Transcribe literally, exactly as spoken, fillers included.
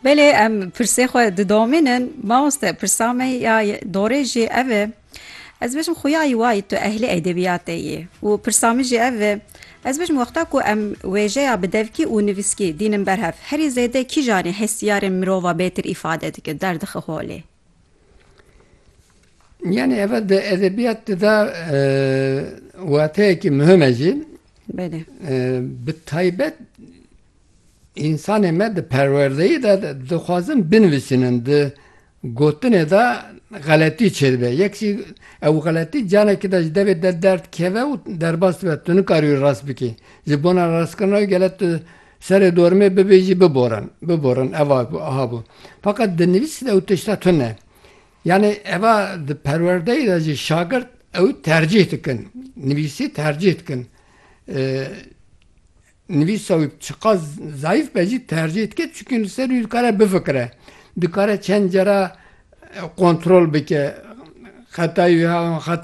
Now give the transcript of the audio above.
Belê, em pirsê xwe didomînin. Mamoste, pirsa me ya dorê jî ev e. Ez bêjim, xuya yî wa yî tu ehlê edebiyatê yî. Û pirsa min jî ev e. Ez bêjim, wexta ku em wêjeya bi devkî û nivîskî dînin ber hev, herî zêde kîjanê hestiyarên mirova bêtir îfade dike, derdixe holê? Yani eve di edebiyat de, e, wateyekî muhim e jî. Belê. E, bi taybet însanê me di perwerdeyî de dixwazin binivîsînin, di gotinê de xeletî çêdibe. Yek jî ew xeletî canekî de ji devê de derdikeve û derbas dibe, tu nikarî wî rast bikî. Ji bona rastkirina wî gele tu serê dormê bibêjî biborin, biborin, eva bû, aha bû. Feqet di nivîsî de ew tişta tune. Yani eva di perwerdeyê de jî şagirt ew tercîh dikin. Nivîsî tercîh dikin. E, nivîsa wî çiqas zayîf be jî tercîh dike, çunkî li ser wî dikare bifikire. Dikare çend cara, e, kontrol bike. Xetayî wî ha, xeta